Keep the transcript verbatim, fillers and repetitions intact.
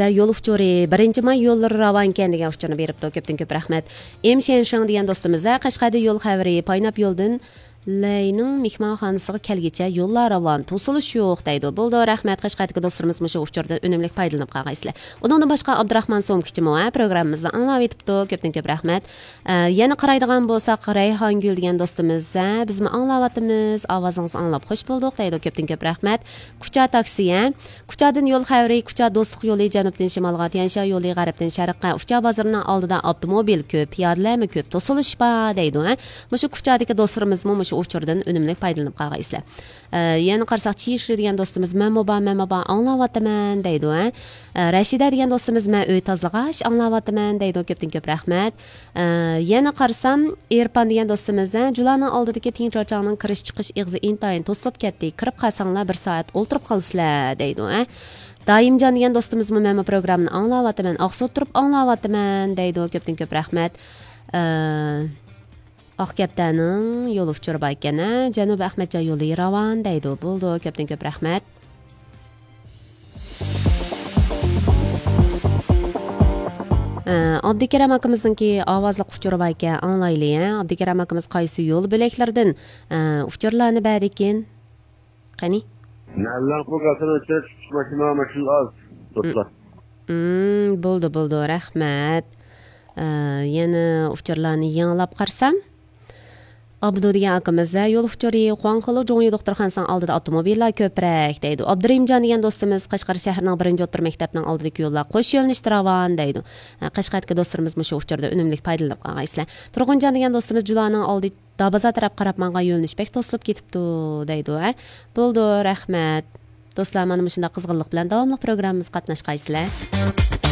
يول ئۇچۇرى، بىرىنچى ماي يوللىرى راۋانكەن دېگەن ئۇچۇرنى بېرىپتۇ. كۆپتىن كۆپ رەھمەت. ئېم شيەنشىڭ دېگەن دوستىمىز، ھە، قەشقەردىن يول خەۋىرى، پايناپ يولدىن لەينىڭ مېھمانخانىسىغا كەلگۈچە يوللار راۋان، توسۇلۇش يوق دەيدۇ. بولىدۇ، رەھمەت. قەشقەردىكى دوستلىرىمىز مۇشۇ ئۇچۇردىن ئۈنۈملۈك پايدىلىنىپ قالغايسىلەر. ئۇنىڭدىن باشقا ئابدۇراخمان سومكىچىمۇ، ھە، پروگراممىمىزنى ئاڭلاۋېتىپتۇ. كۆپتىن كۆپ رەھمەت. ئە، يەنە قارايدىغان بولساق، رەيھانگۈل دېگەن دوستىمىز، ھە، بىزمۇ ئاڭلاۋاتىمىز، ئاۋازىڭىزنى ئاڭلاپ خوش بولدۇق دەيدۇ. كۆپتىن كۆپ رەھمەت. كۇچا تاكسى، ھە. كۇچادىن يول خەۋىرى، كۇچا دوستلۇق يولى جەنۇبتىن شىمالغا، تيەنشا يولى غەربتىن شەرققە، ئۇچا بازىرىنىڭ ئالدىدا ئاپتوموبىل كۆپ، پىيادىلەرمۇ كۆپ، توسۇلۇش بار دەيدۇ، ھە. مۇشۇ كۇچادىكى دوستلىرىمىزمۇ مۇشۇ ئۇچۇردىن ئۈنۈملۈك پايدىلىنىپ قالغايسىلەر. ئە، يەنە قارىساق، چىشى دېگەن دوستىمىز، مەنمۇ بار، مەنمۇ بار، ئاڭلاۋاتىمەن دەيدۇ، ھە. ئە، رەشىدە دېگەن دوستىمىز، مەن ئۆي تازىلىغاچ ئاڭلاۋاتىمەن دەيدۇ. كۆپتىن كۆپ رەھمەت. ئە، يەنە قارىسام، ئېرپان دېگەن دوستىمىز، ھە، جۇلانىڭ ئالدىدىكى تىڭ چاچاڭنىڭ كىرىش چىقىش ئېغىزى ئىنتايىن توسۇلۇپ كەتتى. كىرىپ قالساڭلار بىر سائەت ئولتۇرۇپ قالىسىلەر دەيدۇ، ھە. دائىمجان دېگەن دوستىمىزمۇ، مەنمۇ پروگراممىنى ئاڭلاۋاتىمەن، ئاقسۇ ئولتۇرۇپ ئاڭلاۋاتىمەن دەيدۇ. كۆپتىن كۆپ رەھمەت. ئە، ئاق كەپتەرنىڭ يول ئۇچۇرى بار ئىكەن، ھە، جەنۇبىي ئەخمەتجان يولى راۋان دەيدۇ. بولىدۇ، كۆپتىن كۆپ رەھمەت. ئە، ئابدۇكېرەم ئاكىمىزنىڭكى ئاۋازلىق ئۇچۇرى بار ئىكەن، ئاڭلايلى، ھە. ئابدۇكېرەم ئاكىمىز قايسى يول بۆلەكلىرىدىن، ئە، ئۇچۇرلارنى بەردىكىن؟ قېنى؟ مەللەڭ بۇ گاسىنى ئۆتۈپ چىقىش ماشىنا، ماشىنا ئاز. توسلا. مم، بولدى، بولدى، رەھمەت. ئە، يەنە ئۇچۇرلارنى يېڭىلاپ قارىسام. ئابدۇ دېگەن ئاكىمىز، ھە، يول ئۇچۇرى، خۇاڭخېلۇ جۇڭيى دوختۇرخانىسىنىڭ ئالدىدا ئاپتوموبىللار كۆپرەك دەيدۇ. ئابدۇرېھىمجان دېگەن دوستىمىز، قەشقەر شەھىرىنىڭ بىرىنچى ئوتتۇرا مەكتەپنىڭ ئالدىدىكى يوللار قوش يۆنىلىشتە راۋان دەيدۇ. ھە، قەشقەردىكى دوستلىرىمىز مۇشۇ ئۇچۇردىن ئۈنۈملۈك پايدىلىنىپ قالغايسىلەر. تۇرغۇنجان دېگەن دوستىمىز، جۇلانىڭ ئالدى دابازار تەرەپ قاراپ ماڭغان يۆنىلىش بەك توسۇلۇپ كېتىپتۇ دەيدۇ، ھە. بولىدۇ، رەھمەت. دوستلار، مانا مۇشۇنداق قىزغىنلىق بىلەن داۋاملىق پروگراممىمىزغا قاتناشقايسىلەر.